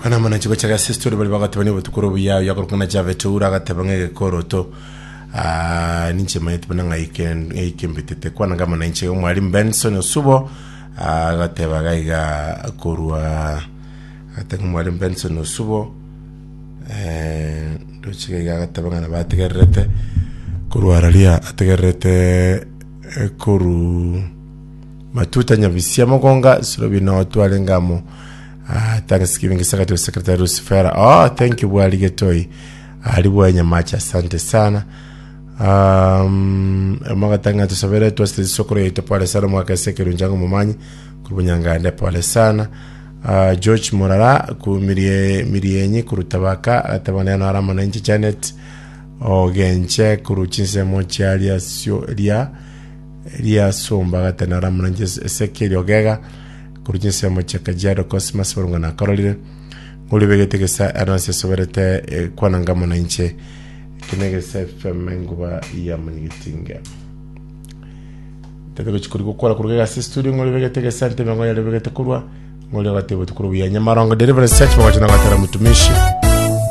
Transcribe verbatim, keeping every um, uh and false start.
Kwana mana chiko chaga sister bari bagateba ni botukuru buya yakorokana Javet ura agateba ng'egekoroto. Ah, ninche manyete buna ng'aike ng'aike mbetete kwana ngama na inche omwalimu Benson Osubo ah, agateba gaiga korwa agateba omwalimu Benson Osubo eh, ndoche gaiga agateba ng'a nabategererete korwa araria ategererete eh, koru Matuta Nyabisia Mogonga Surobi no twarenge amo. Ah, thanksgiving secretary secretary Lucifera. Oh, thank you bwali getoi. Ali bwa Nyamacha, asante sana. Um, magatanga tusabere twasite sokoro yetu pole sana mwaka sekero njango mumanyi kurubunyangande pole sana. Uh, George Murara ku mirie mirienyi kurutabaka atabana na arama na inchi Janet ogenche kuruchinsemo chiaria sio ria riasomba gatena ramunanje Ezekiel Ogega korwa chinsemo chia Kajiado Cosmas barunga nakororire ng'ori begete gesa anonsi esoberete eh, kwana ngamo na inche kene gesa F M enguba ya Munyigitinge tete gochikori gokora korwa gase studio ng'ori begete gesa ntebe ng'ori begete korwa ng'ori agatebo tukuru buya Nyamarongo Deliverance Church bagocha nagatera mutumishi.